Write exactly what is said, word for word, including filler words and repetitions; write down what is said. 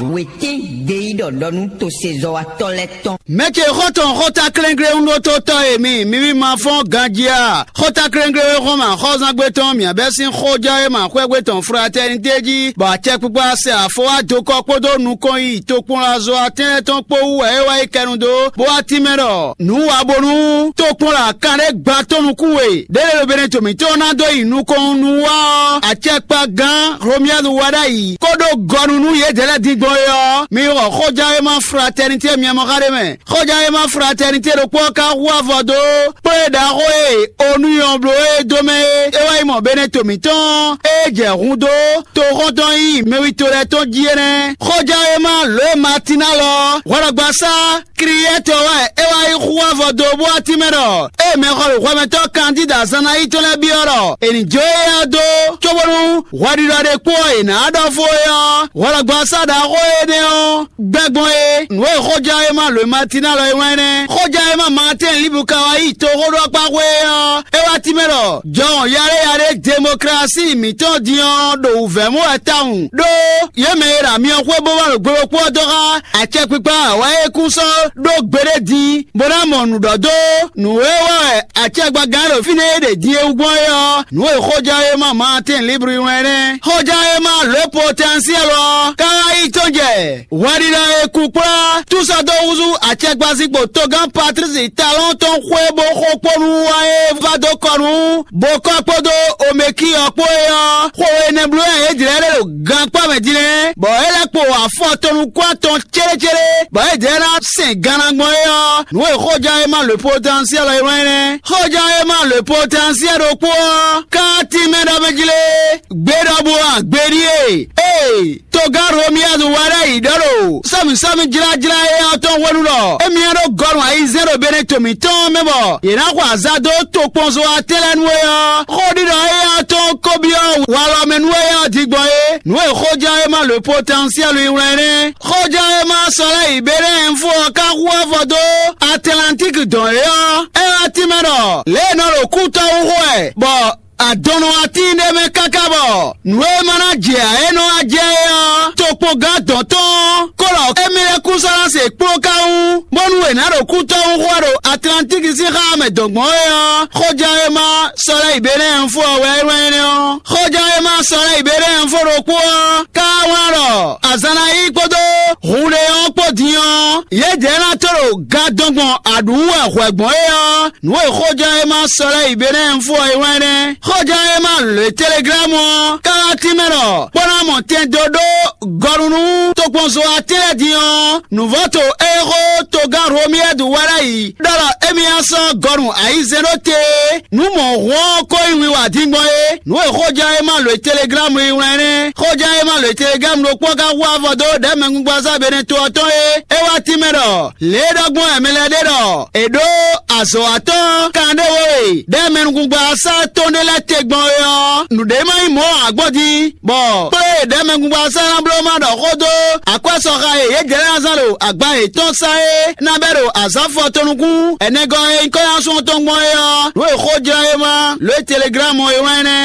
Wětín gbeyíɖɔ ɖɔ nú tosezɔ́watɔ́ lɛ́ɛ tɔn. Mɛ ce xɔ́ntɔn xɔ́ta klɛ́nglé un ɖótó tɔ́ e mi, mi ví ma fɔ́n ganjí a? Xɔ́ta klɛ́nglé e xɔ́n mɛ axɔ́zángbé tɔn mǐ bɛ́ sín xɔján e ma xwɛ́gbé tɔn fratɛ́nité jí, bɔ acɛkpikpa sɛ afɔ wá dokɔ kpódó nukɔn yi tokpɔnlazo atɛ́nlɛ́ tɔn kpó wú wɛ é wá yi kɛnu dó, bó wá tínmɛ ɖɔ nǔ wa bónú tokpɔnla kanɖé gba tɔn nukún we ɖěɖé ɖo Benɛto mǐtɔn ná dó yi nukɔn nú wá ɔ́, acɛkpagán Romiyadu wá ɖ'ayǐ kó ɖó gɔnu nú yědɛɛ lɛ́ɛ din gbɔn é ɔ́, mi xɔ xɔján e ma fratɛ́nité myɛ mɔ xá ɖé mɛ. Xɔján e ma fratɛ́nité ɖokpó ɔ́ ka hu avɔ dó kplé ɖaxó e onu nyɔ bló e dó mɛ é. É wá yi mɔ Benɛto mǐtɔn e jɛ hun dó toxɔ́ntɔn nyí mɛwito lɛ́ɛ tɔn jí é nɛ́. Xɔján e ma lǒ e Matinalɔ hwɛɖɔgbasá Kliyɛ́tɔ wɛ é wá yi hu avɔ dó bó wá tínmɛ ɖɔ ée mɛxɔlɔ̌xwɛmɛtɔ́ Kandída Zannayítɔn lɛ́ɛ byɔ́ ɖɔ è nǐ jó éyɛ́ ɔ́ dó, cóbónú hwɛɖiɖɔ ɖé kpó ɔ́ è nǎ ɖɔ fó é ɔ́, hwɛɖɔgbasá ɖaxó énɛ́ ɔ́ gbɛ́ gbɔn é. Nǔ e xɔján e ma lǒ e Matinalɔ e wlán é nɛ́. Xɔján e ma Maatɛ́n Libu ka wá yi toxóɖɔkpáxwé é ɔ́, é wá tínmɛ ɖɔ jɔhɔn yaɖéyaɖé demoklási mǐtɔn din ɔ́ ɖo wǔvɛ́ mɔ wɛ tawun ɖó yě mɛ e ɖo amyɔ xwé bó wá ɖo gbe ɖokpó ɔ́ dó xá acɛkpikpa wɛ é kún sɔ́ ɖó gbeɖé din, bó ná mɔ nǔ ɖɔ dó nǔ e wa wɛ acɛgbagán ɖo fínɛ́ e ɖe din e wú gbɔn é ɔ́, nǔ e xɔján e ma Maatɛ́n Libri wlɛ́n nɛ́. Xɔján e ma lǒ potɛnsiɛl ɔ́, ká wá yi tɔn jɛ hwɛɖiɖɔ e kú kplá túsɔ́ dó húzú acɛgbazikpo togán Patlísi Talɔ́n tɔn xwé bó xo kpó nú wa e va dó kɔ nú Bokɔ́ kpódó Omeki ɔ́ kpó é ɔ́, xo énɛ́ bló wɛ yě jlɛ́ ɖe ɖo gankpá mɛ din lɛ́ɛ, bɔ é lɛ́ kpo afɔ tɔn nukún atɔn célécélé, bɔ é jɛ ná sɛn ganna gbɔn é ɔ́, nǔ e xɔján e ma lǒ potɛnsiɛl ɔ́ é wlán é nɛ́. Xɔján e ma lǒ potɛnsiɛl ɖokpó ɔ́, ká tínmɛ ɖɔ mɛ jí lé, gbe ɖɔbú ɔ́, gbe ɖíe. Ee, togán Romiyadu wá ɖ'ayǐ ɖɔ ɖo sɔ́mǐsɔ́mí jlájlá éyɛ́ ɔ́ tɔn hwenu ɖɔ émí ɔ́ ɖó gɔnu ayizɛ́n ɖo Benɛto mǐtɔn mɛ bɔ yě ná xɔ azǎn dó tokpɔnzo atɛ́ lɛ́ɛ nú é ɔ́, xó ɖiɖɔ éyɛ́ ɔ́ tɔn ko byɔ́ walɔ mɛ nú éyɛ́ ɔ́ din gbɔn é. Nǔ e xɔján e ma lǒ potɛnsiɛlu yi wlán é nɛ́. Xɔján e ma sɔ́ lɛ́ yi Benɛ́ɛnfo ɔ́ ka hu avɔ dó Atlantíki dɔn é ɔ́, é wá tínmɛ ɖɔ lě e è nɔ ɖo kútɔ́ wú xo wɛ, bɔ adɔnnɔ atín ɖé mɛ káká bɔ nǔ e ma ná jɛ ǎ é nɔ wá jɛ é ɔ́, tokpɔngán dɔn tɔn kó ɖɔ émí lɛ́ kú sɔ́ ná se kplɔ́n ká wú, bónú è nǎ ɖo kútɔ́ wú xo wá ɖo Atlantíki sín xá mɛ dɔn gbɔn é ɔ́, xɔján e ma sɔ́ lɛ́ yi Benɛ́ɛnfo ɔ́ wɛ é wlán énɛ́ ɔ́. Xɔján e ma sɔ́ lɛ́ yi Benɛ́ɛnfo ɖokpó ɔ́, ká wlán ɖɔ azǎn ná yí kpódó hun ɖé ɔ́ kpó din ɔ́, yědɛɛ ná tó ɖo gadɔn gbɔn aɖǔ wɛ hwɛ gbɔn é ɔ́, nǔ e xɔján e ma sɔ́ lɛ́ yi Benɛ́ɛnfo ɔ́ é wlán nɛ́. Xɔján e ma lě teleglámu ɔ́, ká wá tínmɛ ɖɔ kpɔ́ ná mɔ tɛn dó ɖó gɔnu nú tokpɔnzo atɛ́ lɛ́ɛ din ɔ́, nǔvɔ́to e xó togán Romiyɛ́du wá ɖ'ayǐ ɖɔ ɖɔ émí ná sɔ́ gɔnu ayizɛ́n ɖó te nú mɔ̌hun ɔ́ ko nyí wiwa din gbɔn é. Nǔ e xɔján e ma lǒ teleglámu yi wlán nɛ́. Xɔján e ma lǒ teleglámu ɖokpó ka hu avɔ dó ɖɛ̌mɛngungbazá Benɛto ɔ́ tɔn é. É wá tínmɛ ɖɔ lě e ɖɔ gbɔn wɛ mɛ lɛ́ɛ ɖe ɖɔ è ɖǒ azɔ̌watɔ́ kanɖé we ɖɛ̌mɛngungbazá tɔn ɖé lɛ́ɛ te gbɔn é ɔ́, nǔɖé ma nyí mɔ̌ ǎ gbɔn din, bɔ kplé ɖɛ̌mɛngungbazá ná bló ma ɖɔ xó dó akwɛ́sɔxa e yě jɛ lɛ́ɛ ná zán ɖo agba yětɔn sá é ná bɛ́ ɖo azǎn fɔ tɔn nukún ɛnɛgɔ́ e nyí kɔ́nyásun tɔn gbɔn é ɔ́, nǔ e xɔján e ma lǒ teleglámu e wlán nɛ́.